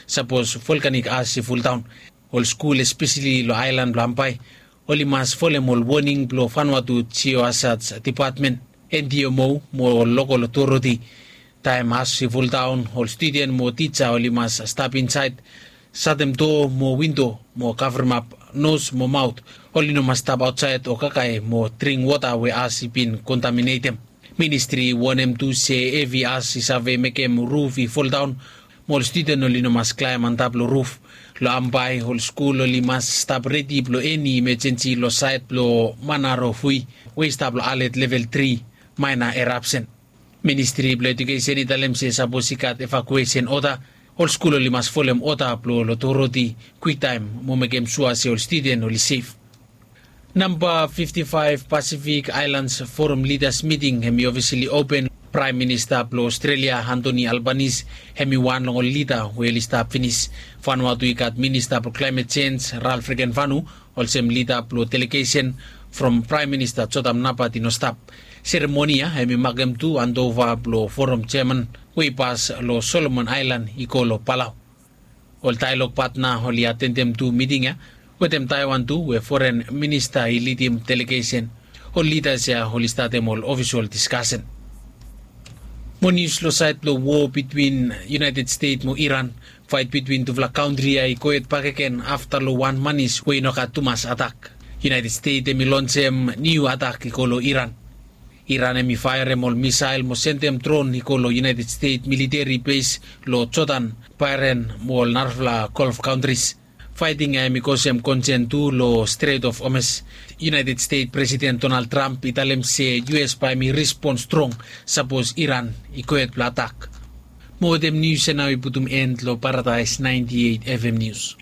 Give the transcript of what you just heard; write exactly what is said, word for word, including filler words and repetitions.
Sapos volkanik as i fuldaon, ol skul espeseli long aelan blong Ambae oli mas folem ol woning blong Vanuatu Geohazards Depatmen, NDMO, mo ol lokol otoriti. Taem as i fuldaon, ol studen mo tija oli mas stap insaed, satem doa mo windo, mo kavremap nos mo maot. Oli no mas stap aotsaed o kakae mo dring wota we as i bin kontaminetem. Ministri i wonem tu se evi as i save mekem ruf i foldaon, mo ol studen oli no mas klaem antap long ruf. Long Ambae, ol skul oli mas stap redi blong eni imejensi long saed blong Manarofui, we i stap long alet level tri, maena erapsen. Ministri blong Ejukesen i talem se sapos i gat evakuesen oda, ol skul oli mas folem oda blong otoriti kwiktaem mo mekem sua se ol studen oli sef. Namba fifti faef Pasifik Aelans Forum Lidas Miting hem i ofisali open. Praem Minista blong Ostrelia, Antoni Albanis, hem i wan long ol lida we oli stap finis. Vanuatu i gat Minista blong Klaemet Jenj, Ralf Regenvanu, olsem lida blong delegesen from Praem Minista Jotam Napat i no stap. Seremoni ya hem i makem tu andova blong Forum Jeaman we i pas long Solomon Aelan i go long Palau. Ol daelog patna oli atendem tu miting ya, wetem Taewan tu, we foren minista i lidim delegesen. Ol lidas ya oli statem ol ofisol diskasen. Mo nius long saed blong wo bitwin United Stet mo Iran. Faet bitwin tufala kantri ya i gohed bakegen afta long wan manis we i no gat tumas atak. United Stet hem i lonsem niu atak i go long Iran. Iran hem i faerem ol misael mo sendem dron i go long United Stet militeri bes long Jodan, Baeren mo ol narafala Golf kantris. Faeting ya hem i kosem konsen tu long Stret of Hormuz. United Stet Presiden Donald Trump i talem se US bae hem i respon strong sapos Iran i gohed blong atak. Mo wetem nius ya nao i putum en long Paradaes naenti eit FM Nius.